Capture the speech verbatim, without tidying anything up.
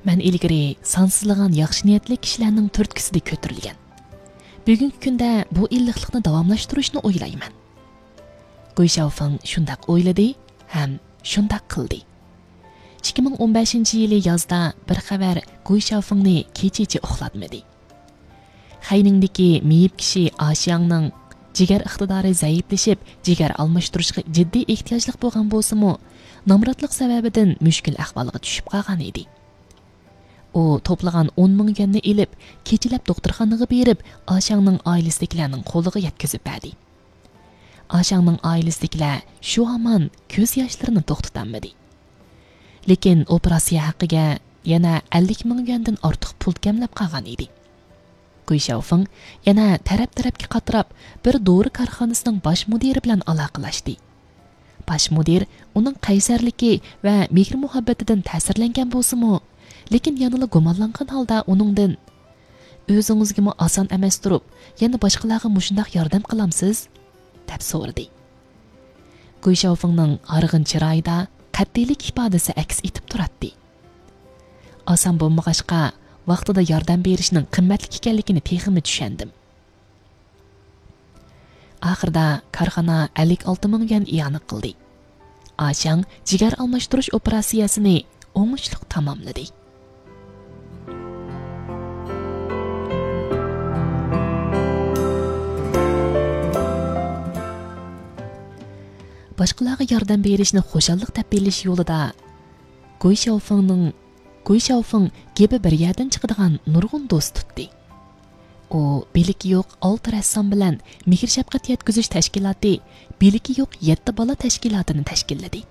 مەن ئىلگىرى سانسىزلىغان ياخشى نىيەتلىك كىشىلەرنىڭ تۈرتكىسىدە كۆتۈرۈلگەن. بۈگۈنكى كۈندە بۇ ئىللىقلىقنى داۋاملاشتۇرۇشنى ئويلايمەن. گۇي شياۋفېڭ شۇنداق ئويلىدى ھەم شۇنداق قىلدى. ئىككى مىڭ ئون بەشىنچى يىلى يازدا بىر خەۋەر گۇي شياۋفېڭنى كېچىچە ئۇخلاتمىدى. خەينىڭدىكى مېيىپ كىشى ئاشياڭنىڭ جىگەر ئىقتىدارى زەئىپلىشىپ، جىگەر ئالماشتۇرۇشقا جىددىي ئېھتىياجلىق بولغان بولسىمۇ، نامراتلىق سەۋەبىدىن مۈشكۈل ئەھۋالغا چۈشۈپ قالغان ئىدى. ئۇ توپلىغان ئون مىڭ يۈەننى ئېلىپ، كېچىلەپ دوختۇرخانىغا بېرىپ، ئاشياڭنىڭ ئائىلىسىدىكىلەرنىڭ قولىغا يەتكۈزۈپ بەردى. ئاشياڭنىڭ ئائىلىسىدىكىلەر شۇ ھامان كۆز ياشلىرىنى توختىتالمىدى. لېكىن ئوپېراتسىيە ھەققىگە يەنە ئەللىك مىڭ يۈەندىن ئارتۇق پۇل كەملەپ قالغان ئىدى. گۇي شياۋفېڭ يەنە تەرەپ-تەرەپكە قاتراپ، بىر دورا كارخانىسىنىڭ باش مۇدىرى بىلەن ئالاقىلەشتى. باش مۇدىر ئۇنىڭ قەيسەرلىكى ۋە مېھىر-مۇھەببىتىدىن تەسىرلەنگەن بولسىمۇ، لېكىن يەنىلا گۇمانلانغان ھالدا ئۇنىڭدىن، «ئۆزىڭىزگىمۇ ئاسان ئەمەس تۇرۇپ، يەنە باشقىلارغا مۇشۇنداق ياردەم قىلامسىز؟» دەپ سورىدى. گۇي شياۋفېڭنىڭ ھارغىن چىرايىدا قەتئىيلىك ئىپادىسى ئەكس ئېتىپ تۇراتتى. ئاسان بولمىغاچقا، ۋاقتىدا ياردەم بېرىشنىڭ قىممەتلىك ئىكەنلىكىنى تېخىمۇ چۈشەندىم. ئاخىرىدا كارخانا ئەللىك ئالتە مىڭ يۈەن ئىئانە قىلدى. ئاشياڭ جىگەر ئالماشتۇرۇش ئوپېراتسىيەسىنى ئوڭۇشلۇق تاماملىدى. باشقىلارغا ياردەم بېرىشنى خۇشاللىق دەپ بىلىش يولىدا گۇي شياۋفېڭنىڭ، گۇي شياۋفېڭ گېپى بىر يەردىن چىقىدىغان نۇرغۇن دوست تۇتتى. ئۇ بىلىكى يوق ئالتە رەسسام بىلەن مېھىر-شەپقەت يەتكۈزۈش تەشكىلاتى، بىلىكى يوق يەتتە بالا تەشكىلاتىنى تەشكىللىدى.